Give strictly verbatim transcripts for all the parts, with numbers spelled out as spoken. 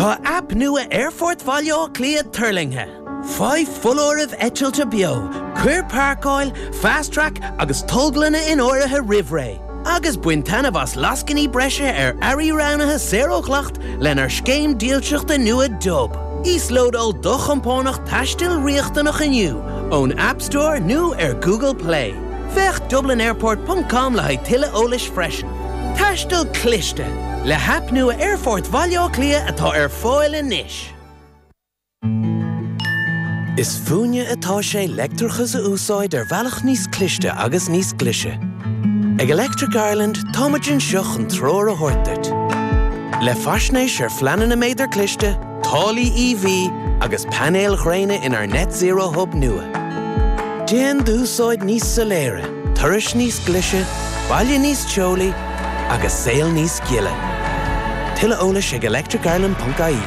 Tá aip nua Aerfort Bhaile Átha Cliath tuirlingthe. Faigh foláirimh eitilte beo, cuir páirceáil, fast track agus tolglanna in áirithe roimh ré. Agus bain taitneamh as lascainí breise ar earraí roghnaithe saor ó dhleacht lenár scéim dílseachta nua Dub. Íoslódáil do chompánach taistil riachtanach inniu ón App Store nó ar Google Play. Féach dublinairport.com le haghaidh tuilleadh eolais freisin. Taisteal cliste le haip nua Aerfort Bhaile Átha Cliath atá ar fáil anois. Is fúinne atá sé leictreachas a úsáid ar bhealach níos cliste agus níos glaise. Ag Electric Ireland táimid anseo chun treoir a thabhairt duit. Le faisnéis ar phleananna méadar cliste, táillí EV agus painéil ghréine inár Net Zero Hub nua. Déan d'úsáid níos soiléire, turais níos glaise, baile níos teolaí agus saol níos gile. Tuilleadh eolais ag electricireland.ie.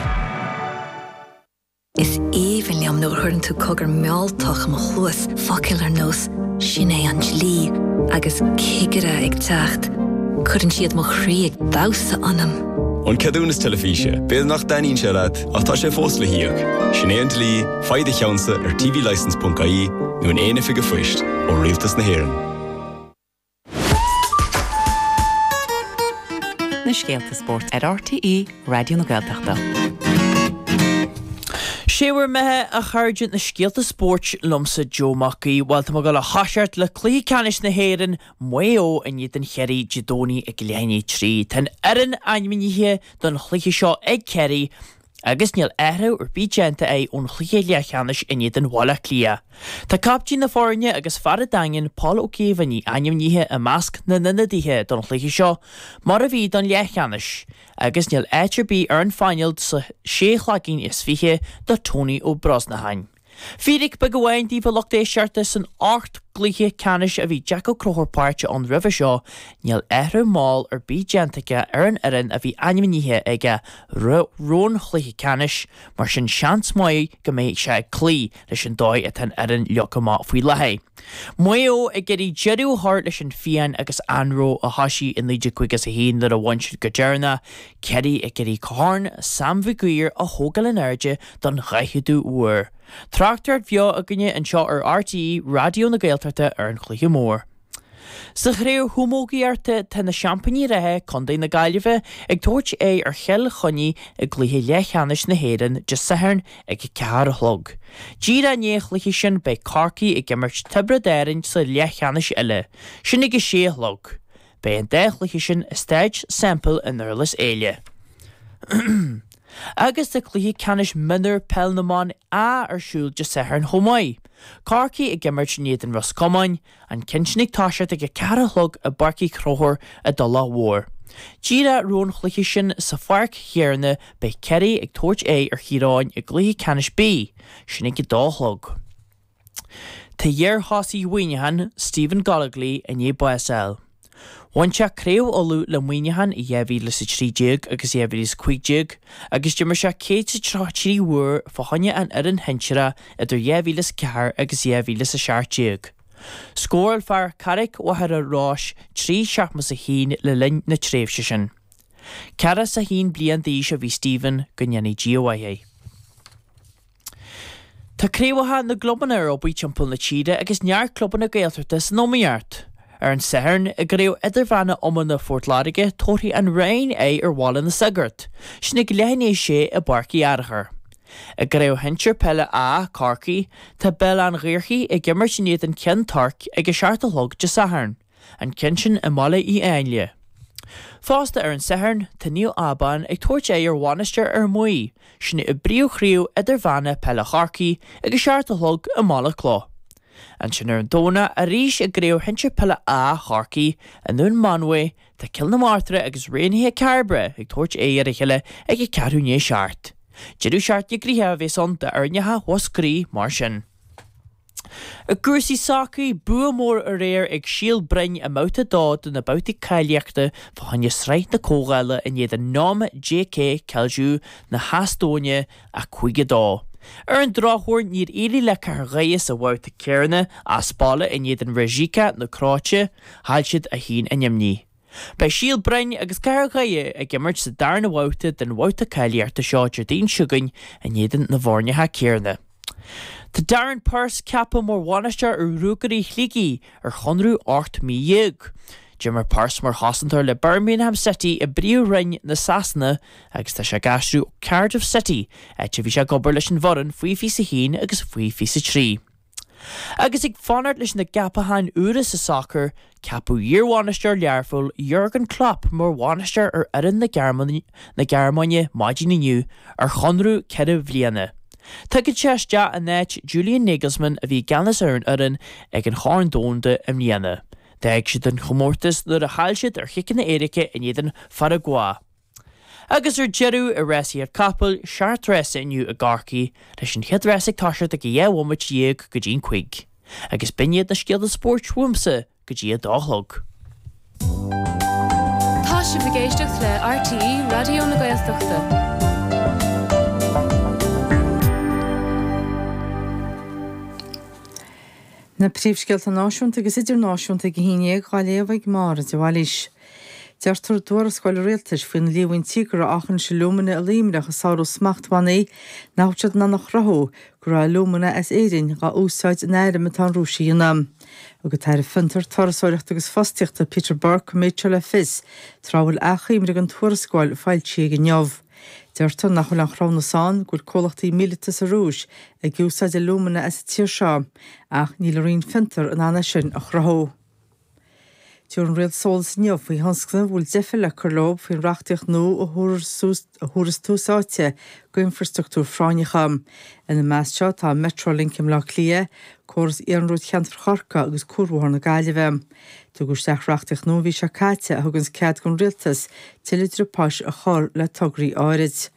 Is aoibhinn liom nuair a chuireann tú cogar mealltach i mo chluas focail ar nós sin é an dlí agus cigire ag teacht. Cuireann siad mo chroí ag damhsa ionam. An ceadúnas teilifíse, B'fhéidir nach dtaitníonn sé leat ach tá sé fós le híoc. Sin é an dlí, faigh do cheannsa ar tvlicence.ie nó in aon oifig phoist ó Rialtas na hÉireann. Na scéalta spóirt ar RTÉ Raidió na Gaeltachta. Sé bhur mbeatha a chairde na scéalta spóirt liomsa Joe Mac Aoidh, Bhuel tá ag dul a thoiseacht le cluiche ceannais na hÉireann Maigh Eo in éadan Chiarraí Dé Domhnaigh ag leath i ndiaidh a trí. Tá an fhoireann ainmnithe don chluiche seo ag Ciarraí agus níl athrú ar bith déanta acu ón chluiche leathcheannais in éadan Bhaile Átha Cliath. Tá captaen na foirne agus fear an Daingin Paul Ó Caomhánaigh ainmnithe i measc na n-ionadaithe don chluiche seo mar a bhí don leathcheannais, agus níl áit ar bith ar an phainéal sa sé cloigín is fiche do Tony Ó Brosnacháin. Fíric beag amháin daoibh a lucht éisteachta san ocht gcluiche ceannais a bhí Jack Ó Conchúir páirteach ann roimhe seo, níl athrú mall ar bith déanta aige ar an fhoireann a bhí ainmnithe aige roimh an chluiche ceannais, mar sin seans maith go mbeidh sé ag cloí leis an dóigh atá an fhoireann leagtha amach faoi láthair. Maigh Eo ag iarraidh deireadh a chur leis an phian agus anró a thosaigh i naoi déag caoga is a haon nuair a bhain siad go deireanach, Ciarraí ag iarraidh Corn Sam Mhig Uidhir a thógáil in airde don dhaicheadú huair. Tráchtaireacht bheo againne anseo ar RTÉ Raidió na Gaeltachta ar an chluiche mór. Sa chraobh chamógaíochta tá na seaimpíní reatha Contae na Gaillimhe ag tabhairt aghaidh ar Chill Chainnigh i gcluiche leathcheannais na hÉireann Dé Sathairn ag a ceathair a chlog. Díreach i ndiaidh an chluiche sin beidh Corcaigh ag imirt Tiobraid Árann sa leathcheannais eile, sin ag a sé a chlog. Beidh an dá chluiche sin i Staid Semple i nDurlas Éile. Agus tá cluiche ceannais mionúr peil na mban A ar siúl Dé Sathairn chomh maith. Corcaigh ag imirt in éadan Ros Comáin, an ceann sin ag toiseacht ag a ceathair a chlog i bPáirc Uí Chonchúir i dTulach Mhór. Díreach roimh an chluiche sin sa pháirc chéanna beidh Ciarraí ag tabhairt aghaidh ar Thír Eoghain i gcluiche ceannais B, sin ag a dó a chlog. Tá iarthosaí Mhuineacháin, Stephen Gollogly, i ndiaidh bás a fháil. Bhain sé Craobh Uladh le Muineachán i dhá mhíle is a trí déag agus dhá mhíle is cúig déag agus d'imir sé céad is tríocha trí uair fá choinne an fhoireann shinsearach idir dhá mhíle is a ceathair agus dhá mhíle is a seacht déag. Scóráil fear Charraig Mhachaire Rois trí seachtó is a haon le linn na tréimhse sin. Ceathracha is a haon bliain d'aois a bhí Stephen, go ndéana Dia a mhaith é. Tá craobhacha na gclubanna ar obair timpeall na tíre agus neart clubanna Gaeltachta san iomaíocht. Ar an Satharn, i gCraobh Idirmheánach Iomána Phort Láirge, tabharfaidh an Rinn aghaidh ar Bhaile na Sagart, sin ag leath i ndiaidh a sé i bPáirc Uí Fhearchair. I gCraobh Shinsir Peile A, Corcaigh, tá Béal Átha an Ghaorthaidh ag imirt in éadan Ceann Toirc ag a seacht a chlog Dé Sathairn, an ceann sin i mBaile Uí Áinle. Fosta ar an Satharn, tá Naomh Abán ag tabhairt aghaidh ar Mhainistir Fhear Maí, sin i bPríomhchraobh Idirmheánach Peile Chorcaí ag a seacht a chlog i mBaile Clough. Ansin ar an Domhnach, arís i gCraobh Shinsir Peile A Chorcaí, i nDún Mánmhaí, tá Cill na Martra agus Raonaithe Cairbre ag tabhairt aghaidh ar a chéile ag a ceathrú i ndiaidh a seacht. Deireadh seachtaine gnoitheach a bheas ann d'fhoirneacha Mhúscraí mar sin. I gcúrsaí sacair, bua mór aréir ag Síol Broin i mbabhta a dó de na babhtaí cáilíochta fá choinne Sraith na Comhdhála in éadan Nõmme JK Kalju na hEastóine, a cúig a dó. Ar an drochuair níor éirigh le Cathair Dhoire sa bhabhta céanna as baile in éadan Rijeka na Cróite, chaill siad a haon in imní. Beidh Síol Broin agus Cathair Dhoire ag imirt sa darna babhta den bhabhta cáilíochta seo Déardaoin seo chugainn in éadan na bhfoirneacha céanna. Tá Darren Purse ceaptha mar bhainisteoir ar Ruagairí Shligigh ar chonradh ocht mí dhéag. D'imir Purse mar chosantóir le Birmingham City i bPríomhroinn na Sasana agus tá sé ag aistriú ó Cardiff City, áit a bhí sé ag obair leis an bhfoireann faoi fiche a haon agus faoi fiche a trí. Agus ag fanacht leis na gceapacháin úra sa sacar, ceapadh iarbhainisteoir Learpholl Jurgen Klopp mar bhainisteoir ar fhoireann na Gearmáine maidin inniu ar chonradh ceithre bhliana. Tagann sé isteach in áit Julian Nagelsmann a bhí i gceannas ar an fhoireann ag an Chorn Domhanda i mbliana. D'fhág siad an chomórtas nuair a chaill siad ar chiceanna éirice in éadan Pharagua. Agus ar deireadh, i rásaíocht capall, seacht rása inniu i gCorcaigh, leis an chéad rás ag toiseacht ag a dhá bhomaite dhéag go dtí'n cúig. Agus b'in iad na scéalta spóirt uaimse go dtí a dó a chlog. Tá sibh ag éisteacht le RTÉ Raidió na Gaeltachta. Na príomhscéalta náisiúnta agus idirnáisiúnta ag a haon déag á léamh ag Máire de Bhailís. Deirtear i dtuarascáil rialtais faoi na líomhaintí go raibh Aughinish Alumina i Luimneach ag sárú smachtbhannaí nach bhfuil siad in ann a chruthú go raibh alúmana as Éirinn dhá úsáid in airm atá an Rúis a dhéanamh. Thug an tAire Fiontar, Turasóireachta agus Fostaíochta Peter Burke an méid seo le fios tráth a bhfuil achoimre den tuarascáil foilsithe aige inniu. Deirtear nach bhfuil aon chruthúnas ann go bhfuil comhlachtaí míleata sa Rúis ag úsáid alúmana as an tír seo ach níl an Roinn Fiontar in ann é sin a chruthú. Tabharfaidh an Rialtas eolas inniu faoi thionscnaimh a bhfuil deifir le cur leo faoin reachtaíocht nua a thabharfas tús áite d'infrastruchtúir phráinneacha. Ina measc seo tá Metrolink i mBleá Cliath, córas iarnróid cheantar Chorcaí agus Cuarbhóthar na Gaillimhe. Tugadh isteach reachtaíocht nua an mhí seo caite a thuganns cead don Rialtas tuilleadh driopáis a chur le tograí áirid.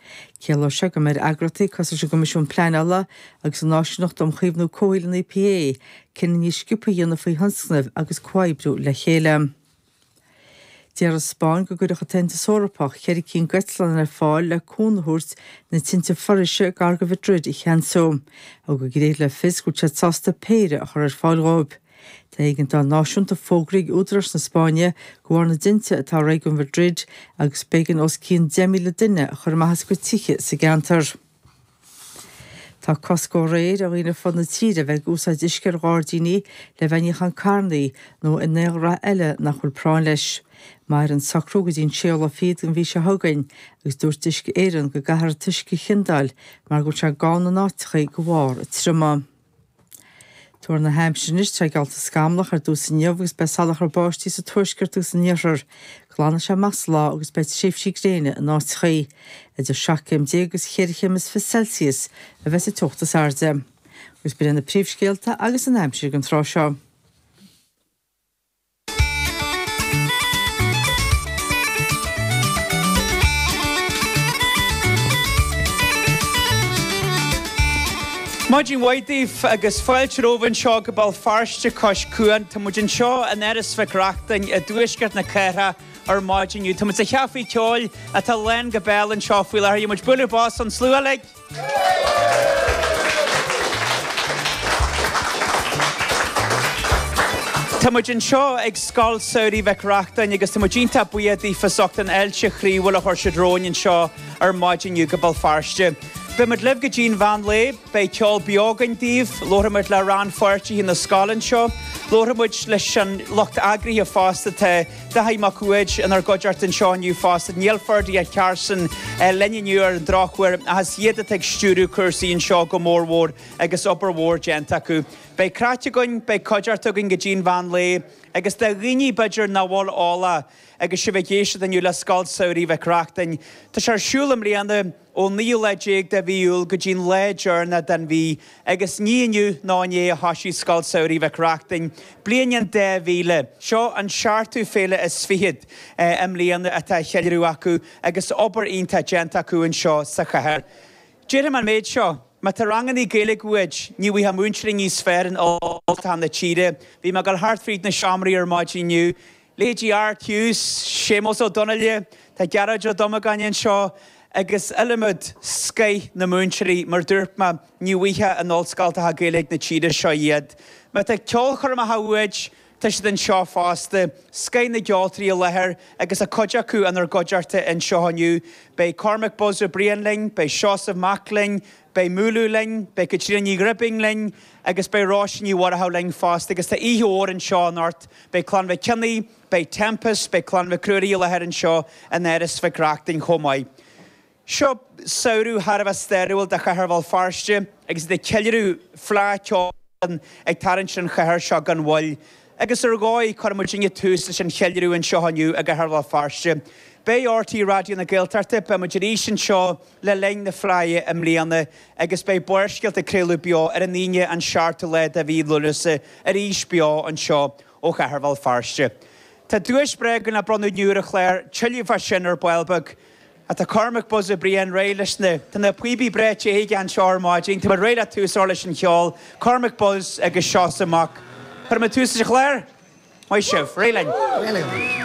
Ciallóidh sé go mbeidh ar eagraíochtaí cosúil leis an gCoimisiún Pleanála agus an Áisíneacht um Chaomhnú Comhshaoil an EPA cinneadh níos sciobtha a dhéanamh faoi thionscnaimh agus comhoibriú le chéile. Deir an Spáinn go gcuirfeadh an tAontas Eorpach ceithre cinn d'eitleáin ar fáil le cúnamh a thabhairt na tinte foraoise gar do Mhadrid a cheansú. Thug an Ghréig le fios go bhfuil siad sásta péire a chur ar fáil dhóibh. Tá éigeandáil náisiúnta fógraithe ag údaráis na Spáinne de bharr na dtinte atá i réigiún Mhadrid agus b'éigean os cionn deich míle duine a chur amach as a gcuid tithe sa gceantar. Tá cosc ó aréir ar dhaoine ar fud na tíre a bheith ag úsáid uisce ar ghairdíní le bheith ag níochán carrannaí nó in aon ghraith eile nach bhfuil práinn leis. Mairfidh an socrú go dtí an séú lá fichead den mhí seo chugainn agus dúirt Uisce Éireann go gcaithfear an t-uisce a chiondáil mar go bhfuil sé gann in áiteachaí de bharr triomaigh. Tuar na haimsire anois, tá sé geallta scamallach ar dtús inniu agus beidh salachar báistí sa tuaisceart agus san iarthar. Glanfaidh sé amach sa lá agus beidh tréimhsí gréine in áiteachaí. Idir seacht gcéim déag agus cheithre chéim is fiche Celsius a bheas an teocht is airde. Agus b'in iad na príomhscéalta agus an aimsir ag an tráth seo. Maidin mhaith daoibh agus fáilte romhaibh anseo go Béal Feirste cois cuain. Tá muid anseo in Áras Mhic Reachtain i dtuaisceart na cathrach ar maidin inniu. Tá muid sa chaifé ceoil atá lán go béal anseo faoi láthair. Gheobhaidh muid bualadh bos ón slua uilig. Tá muid anseo ag Scoil Samhraidh Mhic Reachtain agus tá muid iontach buíoch daofa as ucht an fháilte chroíúil a chuir siad romhainn anseo ar maidin inniu go Béal Feirste. Beidh muid libh go dtí an mheán lae, beidh ceol beo againn daoibh, labharfaidh muid le rannpháirtithe na scoile anseo, labharfaidh muid leis an lucht eagraithe fosta, tá Dáithí Mac Uaid inár gcuideachta anseo inniu fosta, níl Ferdia Carson linn inniu ar an drochuair ach is iad atá ag stiúradh cúrsaí anseo go mórmhór agus obair mhór déanta acu. Beidh craic againn, beidh cuideachta againn go dtí an mheán lae agus do dhaoine b'fhéidir nach bhfuil eolach agus sibh ag éisteacht inniu le Scoil Samhraidh Mhic Reachtain, tá sé ar siúl i mbliana ón naoú lá déag de mhí Iúil go dtí an lá deireanach den mhí agus ní inniu ná inné a thoisigh Scoil Samhraidh Mhic Reachtain, bliain an dá mhíle. Seo an seachtú féile is fichead i mbliana atá á cheiliúradh acu agus obair iontach déanta acu anseo sa chathair. Déarfaidh mé an méid seo, má tá rangannaí Gaeilge uait, ní bhfaighfeá múinteoirí níos fearr in ollscoltacha na tíre. Bhí mé ag dul thart fríd na seomraí ar maidin inniu. Leithéidí Art Hughes, Séamus Ó Donnaile, tá Gearóid Ó Dubhmagáin anseo agus iliomad scoith na múinteoirí, mar dúirt mé, ní bhfaighfeá in ollscoltacha Gaeilge na tíre seo iad. Má tá ceolchoirmeacha uait, Tá siad anseo fosta, scoth na gceoltóirí i láthair agus a cuid acu inár gcuideachta anseo inniu. Beidh Cormac Buzz Ó Briain linn, beidh Seosamh Mac linn, beidh Múlú linn, beidh Caitríona Ní Ghribín linn agus beidh Róisín Ní Mhurchú linn fosta agus tá oíche mhór anseo anocht. Beidh Clann Mhic Cionnaith, beidh Tempest, beidh Clann Mhic Ruairí i láthair anseo in Áras Mhic Reachtain chomh maith. Seo samhradh thar a bheith stairiúil do chathair Bhéal Feirste agus iad ag ceiliúradh Fleadh Cheoil ag tarraingt ar an chathair seo gan mhoill. Agus ar dhóigh, cuirfidh muidinne tús leis an cheiliúradh anseo inniu i gcathair Bhéal Feirste. Beidh RTÉ Raidió na Gaeltachta, beidh muid arís anseo le linn na Fleidhe i mbliana agus beidh Barrscéalta ag craoladh beo ar an Aoine an seachtú lá de mhí Lúnasa arís beo anseo ó chathair Bhéal Feirste. Tá duais bhreá againn le bronnadh inniu ar an chlár, tuilleadh fá sin ar ball beag. Tá Cormac Buzz Ó Briain réidh leis na Tá na píobaí breá te aige anseo ar maidin, Tá réidh le tús a chur leis an cheol, Cormac Buzz agus Seosamh Mac. Cuirfidh muid tús leis an chlár? Maith sibh, réidh linn.